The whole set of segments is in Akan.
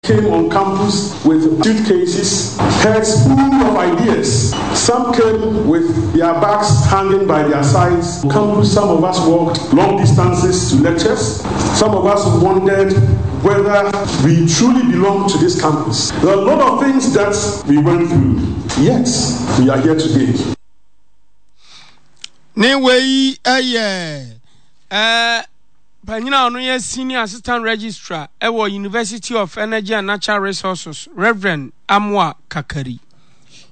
Came on campus with suitcases, heads full of ideas. Some came with their bags hanging by their sides. Campus, some of us walked long distances to lectures. Some of us wondered whether we truly belong to this campus. There are a lot of things that we went through. Yet, we are here today. Ne wei yɛ ɛɛ Panyin a ɔno yɛ Senior Assistant Registrar wɔ University of Energy and Natural Resources, Rev. Amoah Kakari.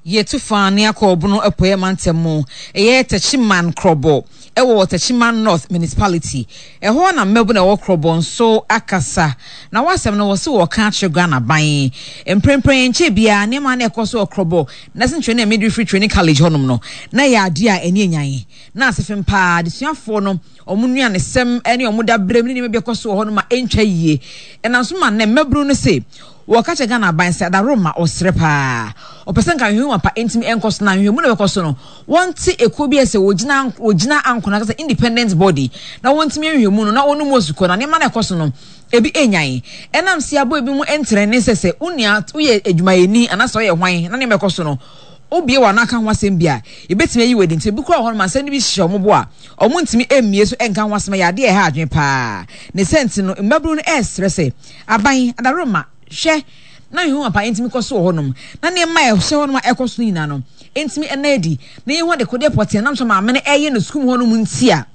Yɛtu fa ne akɔ Ɔbono Apueɛ Mantam mu, ɛyɛ Techiman Krɔbɔ wɔ Techiman North Municipality. Ɛhɔ na mmabunu a ɛwɔ Krɔbɔ nso akasa. Na wɔ asɛm no wɔse wɔreka akyerɛ Ghana aban. Mprempren ɛnkyɛɛ biara nneɛma a na ɛkɔ so wɔ Krɔbɔ Nursing Training and Midwifery Training College hɔnom no, na ɛyɛ adeɛ a ani anyan. Na asefem paa adesuafoɔ no wɔn nnuanesɛm ne wɔn daberem ne nneɛma bi ɛkɔ so wɔ hɔ no ma ɛntwa yie. Ɛnam so ma nnɛ mmabunu no se wɔka kyerɛ Ghana aban sɛ adaworoma ɔsrɛ paa. Ɔpɛ sɛ nka nhwehwɛmu ampa ntumi nkɔ so na nhwehwɛmu na ɛbɛkɔ so no wɔnte ekuo bi a sɛ wɔgyina wɔgyina ankono ankasa independent body na wɔntumi nhwehwɛmu no na wɔn mu osukɔ na nneɛma na ɛkɔ so no ebi enyan. Ɛnam se abɔ ebi mu ntrɛne sɛ sɛ wo nua woyɛ adwumayɛni anaasɛ ɔyɛ hwan na nneɛma ɛkɔ so no wobue w'ano aka ho asɛm bi a, yebetumi ayi wo adi. Nti ebi koraa wɔ hɔnom a, nsɛm no bi hyehyɛ wɔn bo a, wɔntumi mmue so nka ho asɛm. Ɛyɛ ade a ɛha adwene paa. Ne saa nti no, mmabunu no resrɛ sɛ, Aban, adaworoma, hwɛ na nhwehwɛmu ampa ntumi kɔ so wɔ hɔnom, na nneɛma a ɛhyɛ hɔnom a ɛrekɔ so no nyinaa no ntumi nna adi, na yenhu adekodeɛ pɔtee a ɛnam so a maame no reyɛ no sukuu mu hɔnom nti a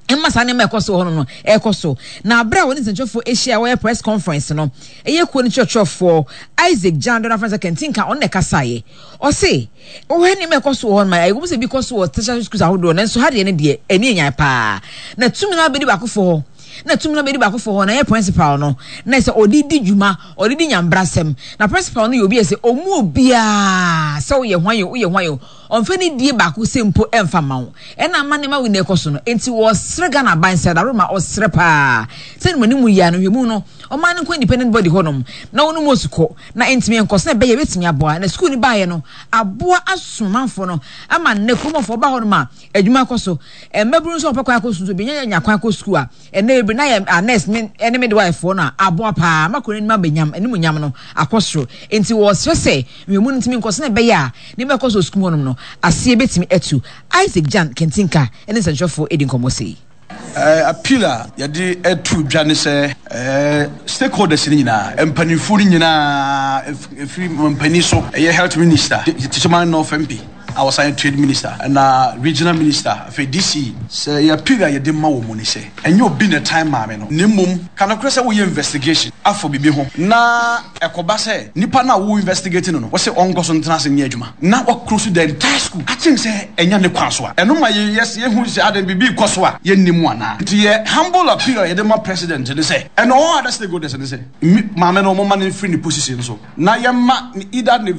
ɛma saa nneɛma a ɛkɔ so wɔ hɔnom no ɛrekɔ so. Na bere a wɔne nsɛnkyerɛwfoɔ ahyia a wɔyɛ press conference no, ɛyɛ kuo no kyerɛkyerɛfoɔ Isaac Gyando no afrɛ sɛ Kantinka, ɔno na ɛkasaeɛ. Ɔse, wohwɛ nneɛma a ɛkɔ so wɔ hɔnom a, ɛwɔ mu sɛ ebi kɔ so wɔ tertiary schools ahodoɔ, nanso ha deɛ no deɛ, ani anyan paa. Na tumi no abɛdi baakofoɔ hɔ. Na tumi no abɛdi baakofoɔ hɔ, na ɛyɛ principal no, na ɛsɛ ɔde di dwuma, ɔde di nyambrasɛm. Na principal no yɛ obi a ɛsɛ ɔmu obiara sɛ woyɛ hwan o, woyɛ hwan o, Ɔmfa ne die baako sɛ mpo ɛmfa mma wo. Ɛna ama nneɛma wei na ɛkɔ so no. Enti wɔsrɛ Ghana aban sɛ Adaroma ɔsrɛ paa sɛ ne mu yi ara no nhwɛmu no ɔman no nkɔ independent body hɔ nom na wɔn mu osukɔ na ɛntumi nkɔ sɛ ɛbɛyɛ ɛbɛtumi aboa na sukuu no baeɛ no aboa asom amanfoɔ no ama nnɛ kuromɔfoɔ ba hɔ nom a adwuma kɔ so mmabunu nso wɔpɛ kwan akɔ sukuu nso bi nya kwan akɔ sukuu a Ɛnnɛ bebree na yɛ a nurse ne ne midwife foɔ no a aboa paa ma kuro no anim abɛnyam animuonyam no akɔ soro. Enti wɔsrɛ sɛ nhwɛmu no ntumi nkɔ sɛnea ɛbɛyɛ a nneɛma ɛkɔ so wɔ sukuu mu hɔnom no aseɛ bɛtumi atu. Isaac Jan Kentinka ne nsɛnkyerɛwfoɔ di nkɔmmɔ sei. Appeal a yɛde to dwa ne sɛ stakeholders no nyinaa, mpanimfoɔ no nyinaa, ɛfiri mampanin so, ɛyɛ Health Minister, Techiman North MP, a ɔsan yɛ Trade Minister ɛna Regional Minister, afei DC. Sɛ yɛ appeal a yɛde ma wɔn ne sɛ, ɛnyɛ obi na ɛtan maame no, na mmom ka nokorɛ sɛ woyɛ investigation afa biribi ho na ɛkɔba sɛ nipa no a wo investigate no no wose ɔnkɔ so ntena ase nyɛ adwuma na wa close the entire school akyem sɛ ɛnyɛ ne kwan so a, ɛno ma yɛ yɛhu sɛ adɛn biribi rekɔ so a yɛnnim anaa. Nti yɛ humble appeal a yɛde ma President ne sɛ, and all other stakeholders ne sɛ, maame no wɔmma no mfiri ne position so na yɛmma either ne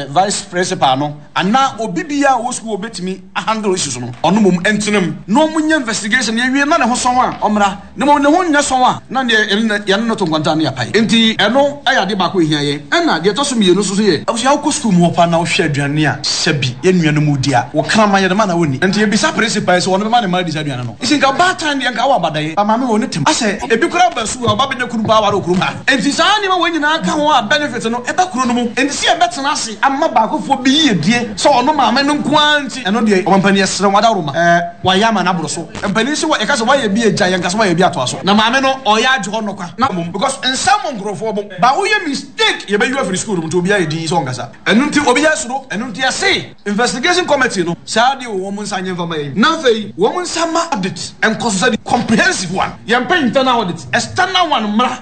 vice principal no anaa obi biara a ɔwɔ sukuu a ɔbɛtumi ahandle issues no, ɔno mmom ntena mu na wɔnyɛ investigation na yɛwie na ne ho sɔn a ɔmmra, na mmom ne ho nyɛ sɔn a na neɛ yɛne no to nkwanta ne yɛapae. Nti ɛno yɛ adeɛ baako a ɛhia yɛn. Ɛna deɛ ɛtɔ so mmienu nso so yɛ. Abusua wokɔ sukuu mu hɔ paa na wohwɛ aduane a sɛbi yɛn nuanom redi a, wo kraman yɛde ma na wɔnni. Nti yɛbisa principal yi sɛ ɔno bɛma ne mma adi saa aduane no. Nti nka baatan deɛ nka awɔ abadaeɛ. Ba maame wɔ ne tem. Asɛ ebi koraa ba sukuu a ɔba bɛnya kunu paa aware wɔ kurom ha. Enti saa nneɛma wei nyinaa ka ho a benefit no ɛba kuro no mu. Enti sɛ yɛbɛtena ase ama baakofoɔ bi yiedie sɛ ɔno maame no nko ara nti, ɛno deɛ ɔmampanin yɛsrɛ wo adaworoma ɛɛ wayɛ ama no aboro so. Mpanin se yɛka sɛ wayɛ bi agya yɛnka sɛ wayɛ bi atoa so. Na maame no ɔyɛ agye hɔ nnɔkwa na mmom because nsa mmɔ nkurɔfoɔ bo but woyɛ mistake yɛbɛyi wo afiri school no mu nti obiara yɛ dinn sɛ ɔnkasa. Ɛno nti obiara suro. Ɛno nti yɛse investigation committee no saa adeɛ wɔ wɔn nsa nyɛ mfa mma yɛn. Na afei wɔn nsa mma audit nkɔ so sɛdeɛ comprehensive one. Yɛmpɛ internal audit, external one mmra.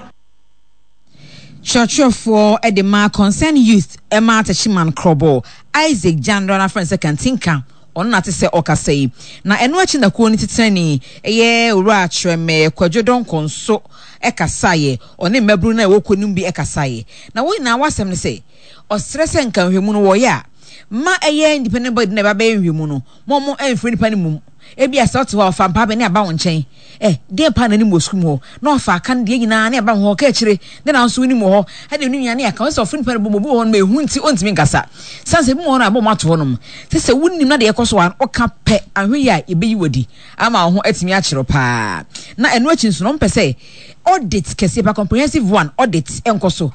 Kyerɛkyerɛfoɔ de ma Concern Youth ma Techiman Krobo, Isaac Gyandra na frɛ no sɛ Kantinka, ɔno na ate sɛ ɔkasa yi. Na ɛno akyi na kuo no titenani yɛ Owura Kyerɛmɛ Kwadwo Donkor nso kasaeɛ, ɔne mmabunu no a ɛwɔ kuo no mu bi kasaeɛ. Na wɔn nyinaa wɔn asɛm ne sɛ, ɔsrɛ sɛ nka nhwɛmu no wɔyɛ a, ma ɛyɛ independent body no na ɛba bɛyɛ nhwɛmu no, ma wɔn mfrɛ nipa no mmom. Ebia sɛ ɔte hɔ a, ɔfa mpaa bɛ ne aba wo nkyɛn. Ɛ, deɛn paa na anim wɔ sukuu mu hɔ? Na ɔfa aka no deɛ nyinaa ne aba wo hɔ, ɔka akyire, ne na nso wonim wɔ hɔ, ɛne ne nua ne aka. Ɔsɛ sɛ ɔfrɛ nipa no bom, obi wɔ hɔ nom a ehu nti ɔntumi nkasa. Sane sɛ ebi wɔ hɔ nom a ɛbɔ wɔn ato hɔ nom. Sɛ sɛ wonim na deɛ ɛkɔ so a, ɔka pɛ, ahwɛ yie a yɛbɛyi wo adi ama wo ho atumi akyere wo paa. Na ɛno akyi nso no, wɔmpɛ sɛ audit kɛseɛ paa, comprehensive one, audit nkɔ so.